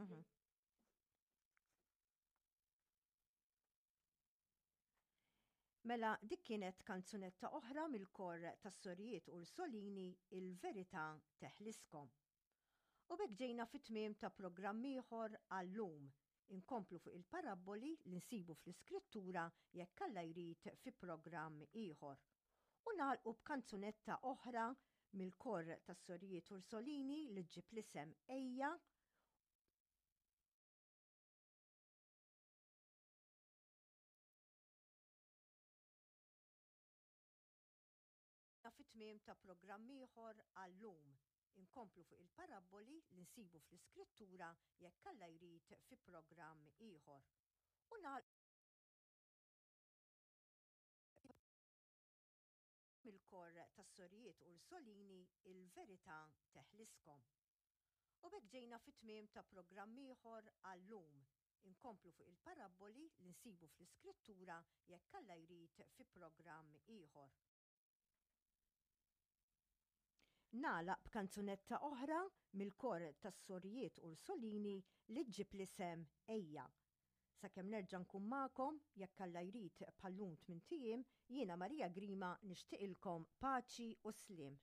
Mhm. Mela dik kienet kanzunetta oħra mill-kor tas-sorijiet Ursolini Il-Verità Teħliskom. U b'hekk ġejna fit-tmiem ta' programm ieħor għal-lum. Inkomplu fuq il-parabboli li nsibu fl-Iskrittura jekk Alla jrid fi programm ieħor. U nagħlqu b'kanzunetta oħra mill-kor tas-sorijiet Ursolini li ġġib l-isem Ejja. Fit-tmiem ta' programm ieħor għal-lum. Inkomplu fuq il-parabboli li nsibu fl-Iskrittura jekk Alla jrid fi programm ieħor. U nagħlqu mill-kor tas-Sorijiet Ursolini Il-Verità Teħliskom. U b'hekk ġejna fit-tmiem ta' programm ieħor għal-lum. Inkomplu fuq il-parabboli li nsibu fl-Iskrittura jekk Alla jrid fi programm ieħor. Nagħlaq b'kanzunetta oħra mill-kor tas-Sorijiet Ursolini li ġġib l-isem Ejja. Sakemm nerġa' nkun magħkom, jekk Alla jrid bħal-lum tmint ijiem, jiena Maria Grima nixtieqilkom paċi u sliem.